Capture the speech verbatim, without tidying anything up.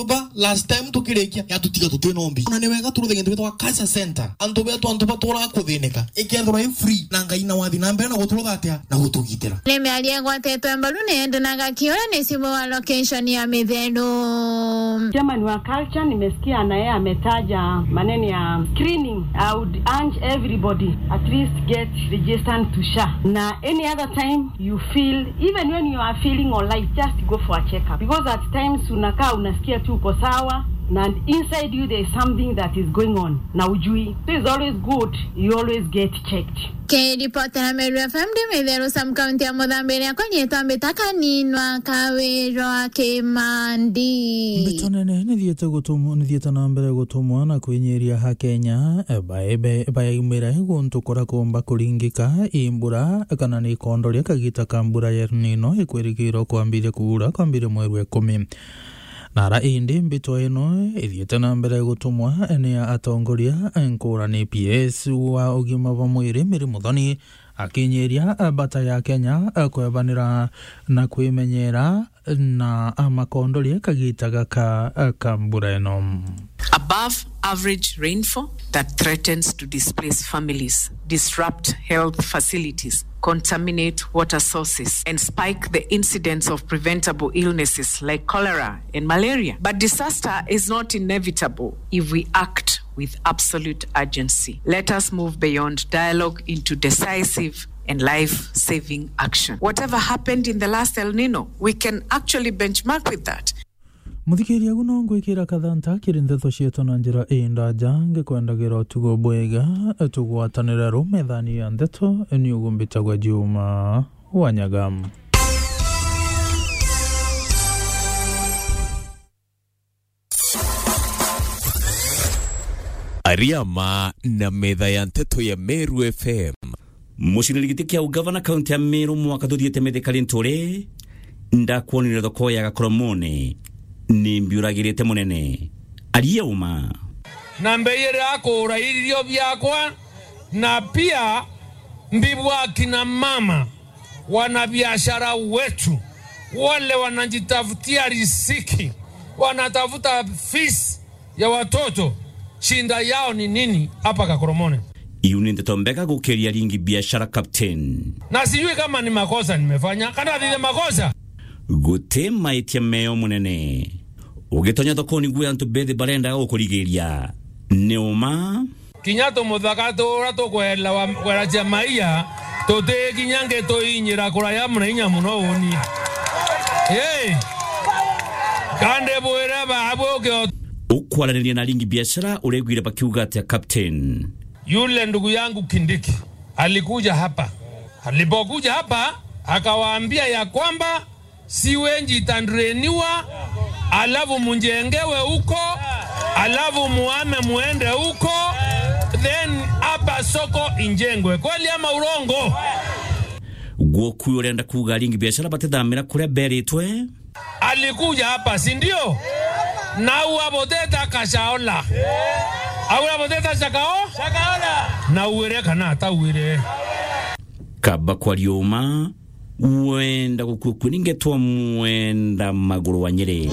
Ba, last time tukirikia, yatutiga tutina umbi. Ona ni wega turuthe gintu gitwa culture center. Antu betu, antu baturaga kuthinika. Ikethirwa i free, na Ngai na wathi na mbere na guturutha atia na gutugitira. Ni miario igwatetwe mbaru ni Edna Gakiura, ni C E O wa location ya Mitheru. Chairman wa culture, nimesikia na yeye ametaja maneno ya screening. I would urge everybody at least get registered to SHA. Na any other time you feel, even when you are feeling alright, just go for a checkup, because at times unakaa unasikia tu uko sawa, na inside you there is something that is going on na ujui. So it's always good you always get checked. Kiripotera Meru F M ndi Mitheru, Sam, kaunti ya Muthambiria, kwa nyitwa Mbita Kaninwa Kawirwa Kimandi. Mbito nene nithiete gutumwa, nithiete na mbere gutumwa na kwinyiria ha Kenya, bae-, bae-, bayaumire guntu kuria kuumba kuringika i mbura kana ni ikondoria kagita ka mbura ya El Nino ikwirigirwa kwambiria kuura kwambiria mweri wa ikumi. Na ara indi mbito ino ithiite na mbere gutumwa ni atongoria nkurani, P S wa ugima bwa mwiri Mary Muthoni, akinyiria bata ya Kenya kwebanira na kwimenyera na amakondoria kagita gaka ka mbura ino. Above average rainfall that threatens to displace families, disrupt health facilities, contaminate water sources, and spike the incidence of preventable illnesses like cholera and malaria. But disaster is not inevitable if we act with absolute urgency. Let us move beyond dialogue into decisive and life-saving action. Whatever happened in the last El Nino, we can actually benchmark with that. Muthikiria, agu no ngwikira kathanta kiri ndeto cietu na njira indaja, ngikwendagira utugo bwega, tugwatanire ru methani ya ndeto, ni ugumbitagwa Juma Wanyaga. Ariama na metha ya nteto ya Meru F M. Muciniri giti kia ugavana kaunti ya Meru mwaka tuthiite Mithika Linturi, ndakwonire thoko ya Gakoromone, ni mbiuragirite munene. Aria uma. Na mbeire akuura irio biakwa, na pia mbibwa akina mama, wanabiashara wetu, wale wanajitafutia riziki, wanatafuta fees ya watoto, shinda yao ni nini hapa Gakoromone? Iu ni ndeto mbega gukiria ringi biashara, Captain. Na sijui kama ni makosa nimefanya, kana ni makosa. Guti maitia meo munene. Ugitonya thokoni gwe antu bethi barendaga gukurigiria. Ni uma. Kinya tumuthaka turia tukwela wa, kwela cia maia, tuti kinya ngi tuinyira kuraya muna inya muno uni. Hey! Kandi bwire baabwe ukio. Ukwaraniria na aringi biashara, uregwire bakiuga atia, Captain? Yule ndugu yangu Kindiki alikuja hapa. Alipokuja hapa, akawaambia ya kwamba sewage itadrainiwa, alafu mjengewe huko, alafu muame muende huko, then hapa soko injengwe. Kweli ama urongo? Gwoku urenda kuuga aringi biashara batithamira kuria beritwe? Alikuja hapa, si ndio? Na uaboteta kashaola. Au uaboteta shakao? Shakaola. Na uere kana atauere. Kaba kwa riuma, wenda gukua kuni ngetwa mwenda maguru wa Nyeri.